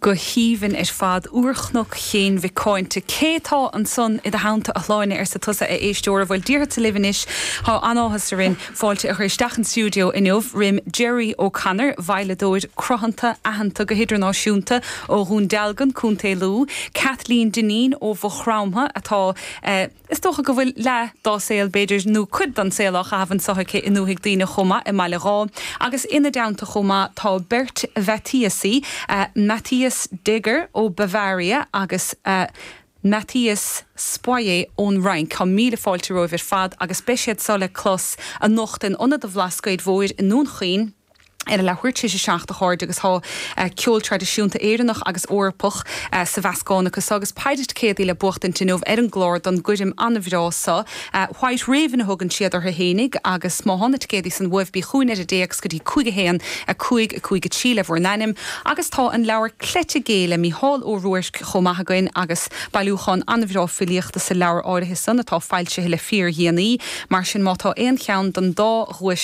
Go haoibhinn ar fad. Úrchnoc Chéin Mhic Cáinte. Cé tá ansan i do theannta, a Shláine, arsa tusa, a éisteora. Bhuel, déarfadsa libh anois, tá an-áthas orainn fáilte a chur isteach an stiúideo inniu roim Gerry O'Connor, veidhleadóir cruthanta, aitheanta go hidirnáisiúnta ó Dhún Dealgan, Co. Lú, Kathleen Dineen ó Mhaigh Chromtha, atá, Is dócha go bhfuil leath dá saol, b'fhéidir, nó cuid den saol á chaitheamh anso aici i ndúthaigh daoine chomh maith i mBaile Dháith. Agus ina dteannta chomh maith tá beirt Mhatthiasaí, Matthias Deger ó Bavaria agus Matthias Soyer ón Fhrainc. Tá míle fáilte romhaibh ar fad agus beidh siad so le clos anocht in Ionad an Bhlascaoid Mhóir i nDún Chaoin. ar a leathuair tar éis a 7, a chairde, agus tá ceol traidisiúnta Éireannach agus Eorpach sa mheascán acu so agus péire ticéadaí le buachtaint inniu ar an gclár don gcoirm an-bhreá so. White Raven a thugann siad orthu fhéinig agus má thá na ticéadaí san uaibh bí chugainn ar an dtéacs go dtí 5 1 5 5 3 le bhur n-ainm agus tá an leabhar Cleite Gé le Mícheál Ó Ruairc chomh maith againn agus bailiúchán an-bhreá filíochta sa leabhar áirithe san atá foilsithe le fíor-dhéanaí. Mar sin má tá aon cheann den dá dhuais.